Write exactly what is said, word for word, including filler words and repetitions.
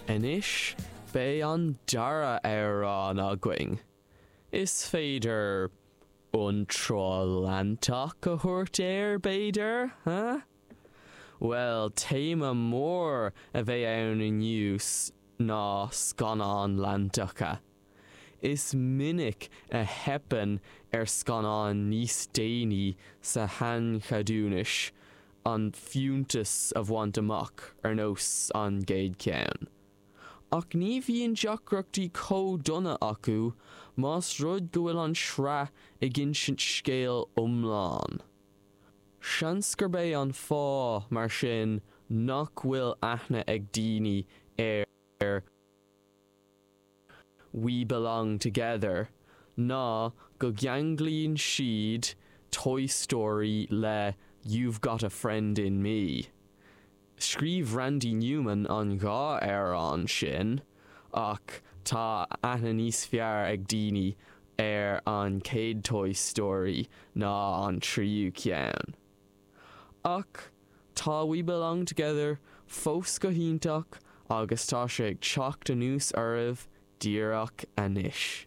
Anois beidh an dara amhrán againn. Is féidir iontráil leantach a thabhairt air b'fhéidir, huh? Well téama mór a bheidh ann inniu ná scannáin leantacha. Is minic a theipeann ar scannáin níos déanaí sa shaincheadúnas an fiúntas a bhaint amach ar nós an gcéad cheann. Ach ní bhíonn deacrachtaí chomh dona acu más rud go bhfuil an tsraith ag insint scéal iomlán. Seans gurb é an fáth mar sin nach bhfuil aithne ag daoine ar We Belong Together ná go gceanglaíonn siad Toy Story le You've Got a Friend in Me. Scríobh Randy Newman an dhá amhrán sin ach tá aithne níos fearr ag daoine ar an chéad Toy Story ná an tríú ceann. Ach tá We Belong Together fós go hiontach agus tá sé ag teacht anuas oraibh díreach anois.